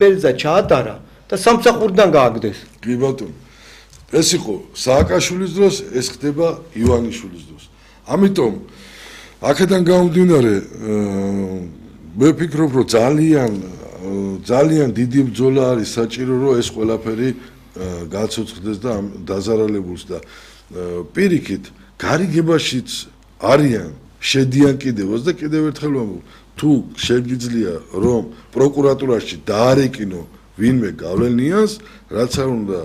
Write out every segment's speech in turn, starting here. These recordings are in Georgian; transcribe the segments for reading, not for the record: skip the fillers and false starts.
ბელზა ჩაატარა და სამსახურიდან გააგდეს. კი ბატონო. ეს იყო სააკაშვილის დროს, ეს ხდება ივანიშვილის დროს. ამიტომ აქედან გამომდინარე მე ვფიქრობ, რომ ძალიან დიდი ბრძოლა არის საჭირო, რომ ეს ყველაფერი გაცოცხლდეს და დაზარალებულს და პირიქით გარიგებაშიც არიან შედიან კიდევაც და კიდევ ერთხელ ვამბობ, თუ შეგიძლია რომ პროკურატურაში დაარეკინო ვინმე გავლენიანს, რაც არ უნდა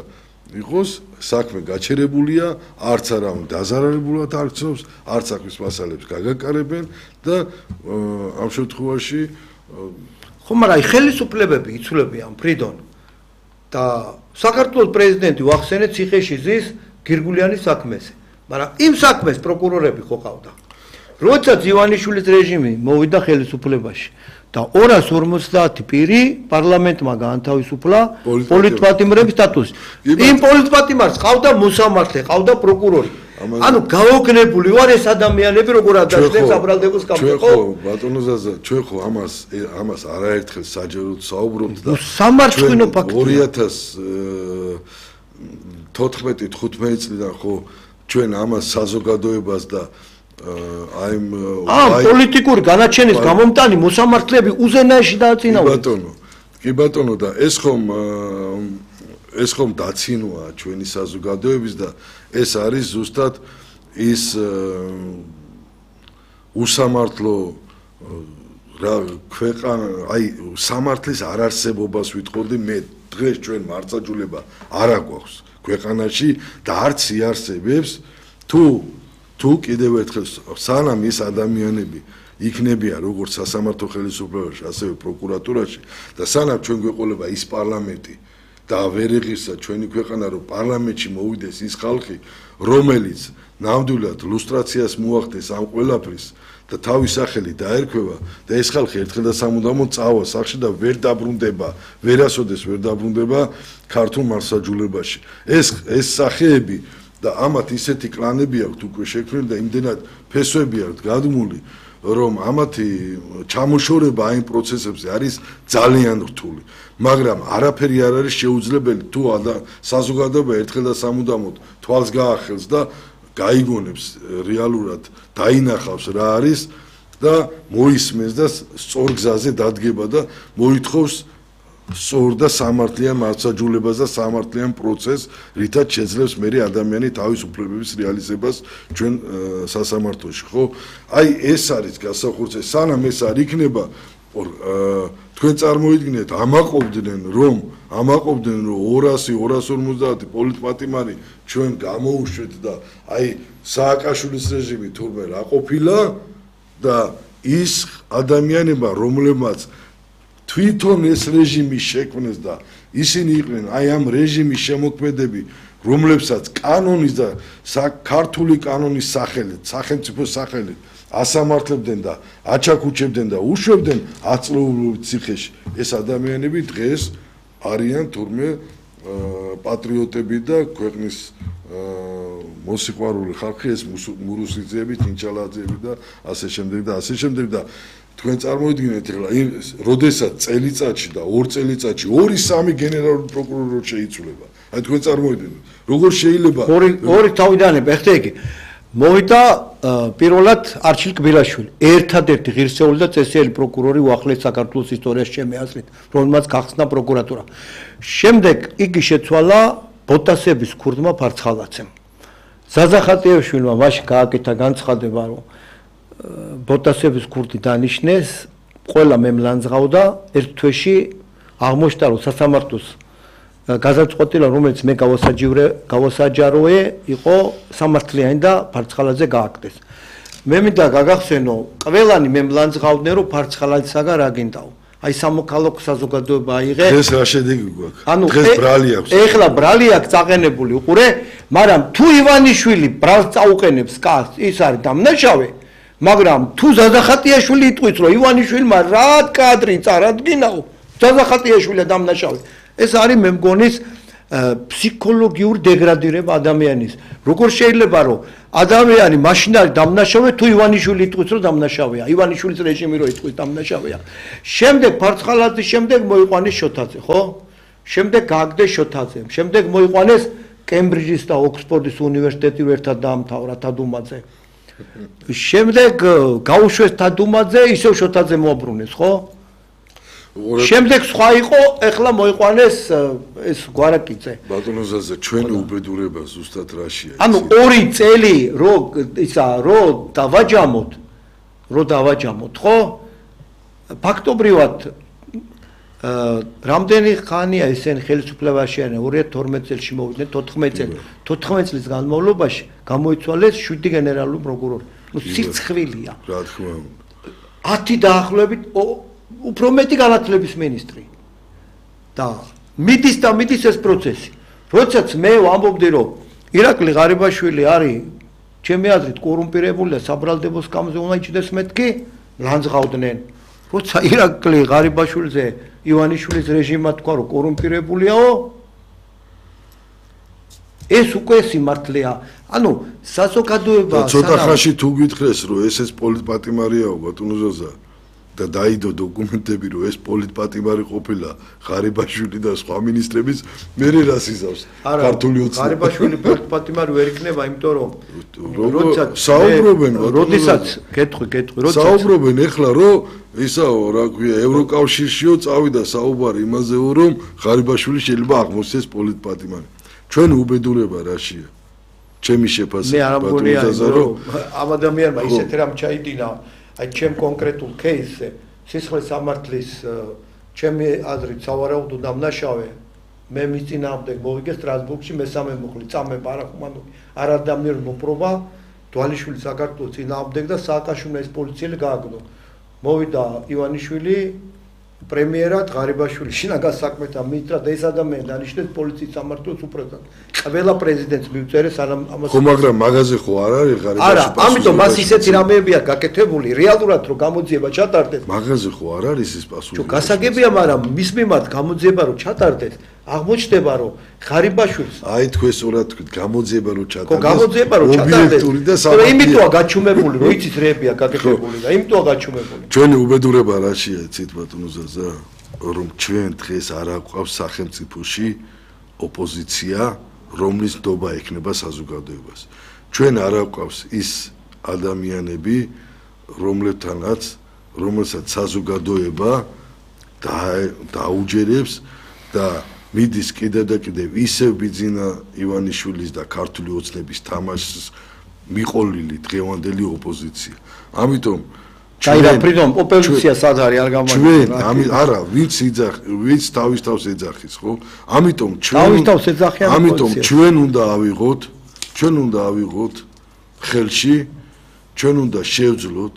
იყოს საქმე გაჩერებულია, არც არა დაზარალებულად არცნობს, არც საქმის მასალებს გაგაკარებენ და ამ შემთხვევაში ხო, მაგრამ ხელისუფლებები იცვლებიან ფრიდონ და საქართველოს პრეზიდენტი ვახსენეთ ციხეში ზის გირგულიანის საქმეზე, მაგრამ იმ საქმეს პროკურორები ხო ყავდა. როდესაც ივანიშვილის რეჟიმი მოვიდა ხელისუფლებაში და 250 პირი პარლამენტმა გაანთავისუფლა პოლიტპატიმრების სტატუსი. იმ პოლიტპატიმარს ყავდა მოსამართლე, ყავდა პროკურორი. ანუ გაოგნებული ვარ ეს ადამიანები როგორ ადაშნებს აბრალდებოს კამპანიას. ხო, ბატონო ზაზა, ჩვენ ხო ამას არაერთხელ საჯაროდ საუბრობთ და სამარცხვინო ფაქტია. 2014-15 წლიდან ხო ჩვენ ამას საზოგადოებას და პოლიტიკური განაჩენის გამომტანი მოსამართლეები უზენაეში დააწინაურდნენ. კი ბატონო და ეს ხომ დაცინოა ჩვენი საზოგადოების და ეს არის ზუსტად ის უსამართლო ქვეყანა, სამართლის არარსებობას ვიტყოდი მე დღეს ჩვენ მარწაჯულება არ აგვაქვს ქვეყანაში და არც იარსებებს თუ კიდევ ერთხელ სანამ ის ადამიანები იქნებიან როგორც სასამართლო ხელისუფლებაში, ასევე პროკურატურაში და სანამ ჩვენ გვეყოლება ის პარლამენტი და ვერ იღირსა ჩვენი ქვეყანა, რომ პარლამენტში მოვიდეს ის ხალხი, რომელიც ნამდვილად ლუსტრაციას მოახდენს ამ ყველაფრის და თავის სახელი დაერქვევა და ეს ხალხი ერთხელ და სამუდამოდ წავა სახში და ვერ დაბრუნდება, ვერასოდეს ვერ დაბრუნდება ქართულ მარსაჯულებაში. ეს სახეები და ამათ ისეთი კლანები აქვთ უკვე შექმნილი და იმდენად ფესვები აქვთ გადმული, რომ ამათი ჩამოშორება ამ პროცესებზე არის ძალიან რთული. მაგრამ არაფერი არ არის შეუძლებელი თუ საზოგადოება ერთხელ და სამუდამოდ თვალს გაახელს და გაიგონებს რეალურად დაინახავს რა არის და მოისმენს და სწორ გზაზე დადგება და მოითხოვს სწორ და სამართლიან მარცხაჯულებას და სამართლიან პროცესს, რითაც შეძლებს მერე ადამიანი თავის უფლებების რეალიზებას ჩვენ სასამართლოში, ხო? აი ეს არის გასახურცე, სანამ ეს არ იქნება, თქვენ წარმოიდგინეთ, ამაყობდნენ რომ 200-250 პოლიტპატიმარი ჩვენ გამოუშვეთ და აი სააკაშვილის რეჟიმი თურმე რა ყოფილა და ის ადამიანება, რომლებმაც თვითონ ეს რეჟიმი შექმნეს და ისინი იყვნენ აი ამ რეჟიმის შემოქმედები, რომლებსაც კანონის და ქართული კანონის სახელით, სახელმწიფოს სახელით ასამართლებდნენ და აჩაქუჩებდნენ და უშვებდნენ აწლოვულობით ციხეში. ეს ადამიანები დღეს არიან თურმე პატრიოტები და ქვეყნის მოსიყვარული ხალხი, ეს მურუსიძეები, ჩინჩალაძეები და ასე შემდეგ და ასე შემდეგ და თქვენ წარმოიდგინეთ, როდესაც წელიწადში და 2 წელიწადში 2-3 გენერალური პროკურორი შეიცვლება. აი თქვენ წარმოიდგინეთ, როგორ შეიძლება ორი თავიდან ეხლა იგი მოვიდა პირველად არჩილ კბილაშვილი, ერთადერთი ღირსეული და წესიერი პროკურორი უახლეს საქართველოს ისტორიაში ჩემი აზრით, რომელმაც გახსნა პროკურატურა. შემდეგ იგი შეცვალა ბოტასების ქურდმა ფარცხალაძემ. ზაზახატიაშვილმა მაშინ გააკეთა განცხადება, რომ ბოტასების ქურდი დანიშნეს, ყველა მემლანძღავდა ერთ თვეში აღმოჩნდა, რომ სასამართლოს გაზარწყვეტილა, რომელიც მე გავასაჯაროე, იყო სამართლიანი და ფარცხალაძე გააკეთეს. მე მინდა გაგახსენო, ყველანი მემლანძღავდნენ, რომ ფარცხალაძესაგან რა გინდაო. აი სამოქალაქო საზოგადოება აიღე. დღეს რა შედეგი გვაქვს? დღეს ბრალი აქვს. ეხლა ბრალი აქვს წაყენებული, უყურე, მაგრამ თუ ივანიშვილი ბრალს წაუყენებს კაცს, ის არის დამნაშავე. მაგრამ თუ ზაზახატიაშვილი იტყვის, რომ ივანიშვილმა რა კადრი წარადგინაო, ზაზახატიაშვილი დამნაშავე. ეს არის მე მგონის ფსიქოლოგიურ დეგრადირება ადამიანის. როგორ შეიძლება რომ ადამიანი მაშინ არის დამნაშავე თუ ივანიშვილი იტყვის რომ დამნაშავეა, ივანიშვილის რეჟიმი რომ იტყვის დამნაშავეა. შემდეგ ფარცხალაძის შემდეგ მოიყვანეს შოთაძე, ხო? შემდეგ გააგდეს შოთაძე. შემდეგ მოიყვანეს კემბრიჯის და ოქსფორდის უნივერსიტეტი ერთად დაამთავრა თადუმაძე. შემდეგ გაუშვეს თადუმაძე, ისევ შოთაძე მოაბრუნეს, ხო? შემდეგ სხვა იყო, ეხლა მოიყვანეს ეს გვარაკიძე. ბატონო ზაზა, ჩვენ უბედურება ზუსტად რაშია? ანუ 2 წელი რო დავაჯამოთ, ხო? ფაქტობრივად რამდენი ხანია ესენი ხელისუფლებაში არიან? 2012 წელს მოვიდნენ 14 წელი. 14 წლის განმავლობაში გამოიცვალეს 7 გენერალური პროკურორი. ნუ სიცხვილია. რა თქმა უნდა. 10 დაახლოებით უფრო მეტი განათლების მინისტრი. და მიდის ეს პროცესი. როდესაც მე ვამბობდი რომ ირაკლი ღარიბაშვილი არის ჩემი აზრით კორუმპირებულია, საბრალდებო სკამზე უნდა იჭდეს მეთქი, ლანძღავდნენ. როცა ირაკლი ღარიბაშვილზე ივანიშვილის რეჟიმმა თქვა რომ კორუმპირებულიაო, ეს უკვე სიმართლეა. ანუ საზოგადოება ცოტა ხანში თუ გითხრეს რომ ეს პოლიტპატიმარიაო ბატონო ზაზა და დაიდო დოკუმენტები რომ ეს პოლიტპატიმარი ყოფილა ღარიბაშვილი და სხვა ministrების მე რას იზავს ქართული ოცნება ღარიბაშვილი პოლიტპატიმარი ვერ იქნება იმიტომ რომ საუბრობენ როდესაც კეთხვი როდესაც საუბრობენ ეხლა რომ ისაო რა ქვია ევროკავშირშიო წავიდა საუბარი იმაზე რომ ღარიბაშვილი შეიძლება აღმოსცეს პოლიტპატიმარი ჩვენ უბედურება რაშია ჩემი შეფასება მე არ მგონია რომ ამ ადამიანმა ისეთ რამ ჩაიდინა აი ჩემ კონკრეტულ кейსზე სისხლის სამართლის ჩემი აზრით სავარაუდო დამნაშავე მე მის წინააღმდეგ მოვიგე სტრასბურგში მესამე მუხლი წამე პარახუმანოვი არადამნიერი მოპრობა დვალიშვილი საქართველოს წინააღმდეგ და სააკაშვილმა ეს პოლიციელი გააგდო მოვიდა ივანიშვილი პრემიერად ღარიბაშვილი შინაგან საქმეთა მინისტრად და ეს ადამიანი დანიშნეს პოლიციის სამმართველოს უპრეცად ყველა პრეზიდენტს მივწერე სანამ ამას ხო მაგრამ მაგაზე ხო არ არის ღარიბაშვილი არა ამიტომ მას ისეთი რამეებია გაკეთებული რეალურად რომ გამოძიება ჩატარდეს მაგაზე ხო არ არის ის პასუხი ხო გასაგებია მაგრამ მის მიმართ გამოძიება რომ ჩატარდეს აღმოჩნდება რომ ღარიბაშვილს აი თქვენ სწორად თქვით გამოძიება რომ ჩატარდეს ხო გამოძიება რომ ჩატარდეს ობიექტური და სამართლიანი იმიტოა გაჩუმებული რომ იცით რეებია გაკეთებული და იმიტოა გაჩუმებული ჩვენი უბედურება რაშია იცით ბატონო ზაზა რომ ჩვენ დღეს არ აყვავს სახელმწიფოში ოპოზიცია რომლის ნდობა ექნება საზოგადოებას ჩვენ არ აყვავს ის ადამიანები რომელსაც საზოგადოება დაუჯერებს და მიდის კიდევ და კიდევ ისევ ბიძინა ივანიშვილის და ქართული ოცნების თამაშს მიყოლილი დღევანდელი ოპოზიცია. ამიტომ ჩვენ ფრიდომ ოპოზიცია სად არის არ ჩვენ არა ვინც თავის თავს ეძახის ხო? ამიტომ ჩვენ უნდა ავიღოთ ხელში ჩვენ უნდა შევძლოთ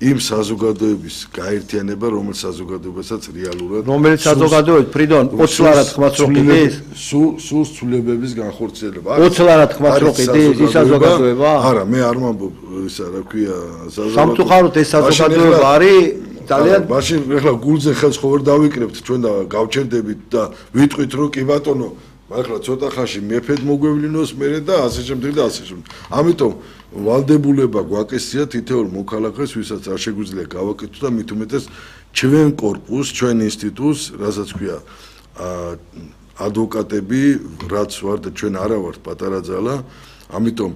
იმ საზოგადოების გაერთიანება, რომელიც საზოგადოებასაც რეალურად რომელიც საზოგადოების ფრიდონ 20 ლარად ხმას რო ყიდეს სულ ცვლილებების განხორციელება 20 ლარად ხმას რო ყიდეს ის საზოგადოება არა მე არ მომბობ ისა რა ქვია სამწუხაროდ ეს საზოგადოება არის ძალიან მაშინ ეხლა გულზე ხელს ხო ვერ დავიკრებთ ჩვენ და გავჩერდებით და ვიტყვით რომ კი ბატონო ახლა ცოტა ხანში მეფედ მოგვევლინოს მერე და ასე შემდეგ და ასე შემდეგ ამიტომ ვალდებულება გვაკისია თითოეულ მოქალაქეს ვისაც არ შეგვიძლია გავაკეთოთ და მით უმეტეს ჩვენ კორპუსს ჩვენ ინსტიტუტს რასაც ქვია ადვოკატები რაც ვარ და ჩვენ არა ვართ პატარა ძალა ამიტომ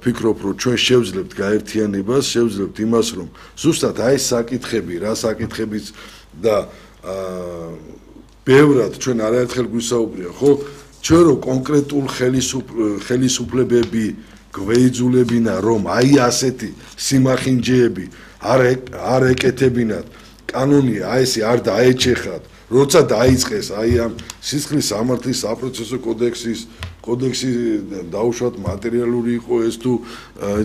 ფიქრობ რომ ჩვენ შევძლებთ გაერთიანებას შევძლებთ იმას რომ ზუსტად აი ეს საკითხები რა საკითხებიც და ბევრად ჩვენ არაერთხელ გვისაუბრია ხო ჩვენ რო კონკრეტულ ხელისუფლებები გვეიძულებინა რომ აი ასეთი სიმახინჯეები არ ეკეთებინათ კანონია აი ესე არ დაეჩეხათ როცა დაიწყეს აი ამ სისხლის სამართლის საპროცესო კოდექსი დაუშვათ მატერიალური იყო ეს თუ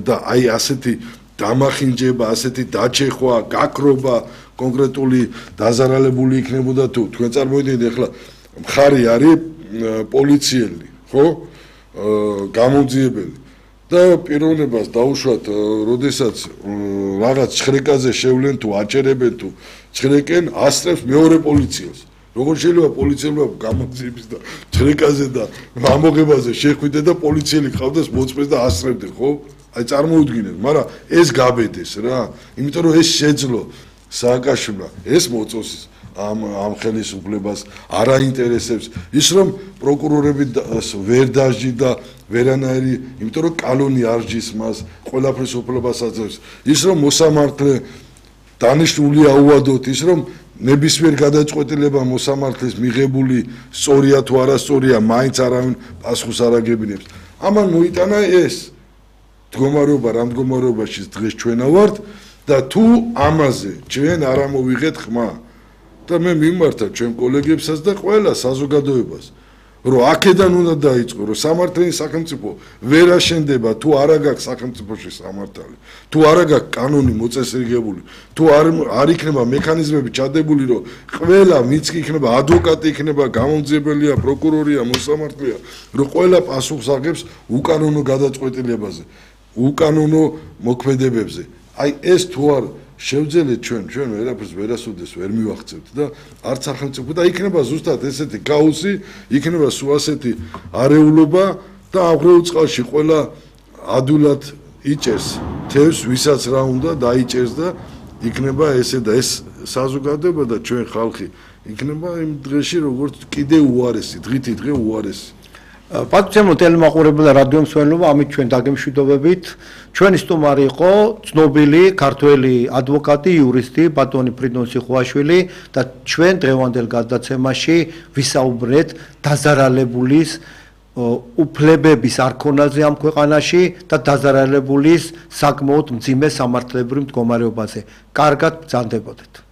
და აი ასეთი დამახინჯება ასეთი დაჩეხვა გაქრობა კონკრეტული დაზარალებული იქნებოდა თუ თქვენ წარმოიდგინეთ ახლა მხარი არის პოლიციელი ხო გამოძიებელი და პიროვნებას დაუშვათ როდესაც რაღაც ხრეკაზე შევლენ თუ აჭერებენ თუ ხრეკენ ასწრებს მეორე პოლიციას როგორ შეიძლება პოლიციელმა გამოძიების და ჭრეკაზე და ამოღებაზე შეხვიდე და პოლიციელი ყავდეს მოწმეს და ასწრებდე, ხო? აი წარმოუდგინეთ, მაგრამ ეს გაბედეს რა, იმიტომ რომ ეს შეძლო სააკაშვილმა, ეს მოწოს ამ ხელისუფლებას არ აინტერესებს ის რომ პროკურორები ვერ დაჟი და ვერანაირი, იმიტომ რომ კანონი არ ჯის მას, ყველაფრის უფლებას აძლევს. ის რომ მოსამართლე დანიშნულია უადოთ, ის რომ ნებისმიერ გადაწყვეტილება მოსამართლეს მიღებული სწორია თუ არასწორია, მაინც არავინ პასუხს არ აგებინებს. ამან მოიტანა ეს მდგომარეობა, რა მდგომარეობაში დღეს ჩვენა ვართ და თუ ამაზე ჩვენ არ ამოვიღეთ ხმა და მე მიმართა ჩვენ კოლეგებსაც და ყველა საზოგადოებას რომ აქედან უნდა დაიწყო რომ სამართლიანი სახელმწიფო ვერ აშენდება თუ არ აქვს სახელმწიფოში სამართალი თუ არ აქვს კანონი მოწესრიგებული თუ არ იქნება მექანიზმები ჩადებული რომ ყველა ვინც იქნება ადვოკატი იქნება გამომძიებელია პროკურორია მოსამართლეა რომ ყველა პასუხს აღებს უკანონო გადაწყვეტილებაზე უკანონო მოქმედებებზე აი ეს თუ არ შევძელეთ ჩვენ ვერაფერს ვერასოდეს ვერ მივახცევთ და არც სახელმწიფო და იქნება ზუსტად ესეთი ქაოსი, იქნება სულ ასეთი არეულობა და აღრეულ წყალში ყველა ადვილად იჭერს თევზს, ვისაც რა უნდა დაიჭერს და იქნება ესე და ეს საზოგადოება და ჩვენ ხალხი იქნება იმ დღეში როგორც კიდე უარესი, დღითი დღე უარესი. პატარცემო ტელემაყურებელ და რადიო მსმენელობა, ამით ჩვენ დაგემშვიდობებით. ჩვენი სტუმარი იყო ცნობილი ქართველი ადვოკატი, იურისტი ბატონი ფრიდონ სიხუაშვილი და ჩვენ დღევანდელ გადაცემაში ვისაუბრეთ დაზარალებულის უფლებების არქონაზე ამ ქვეყანაში და დაზარალებულის საკმაოდ მძიმე სამართლებრივ მდგომარეობაზე. კარგად ბრძანდებოდეთ.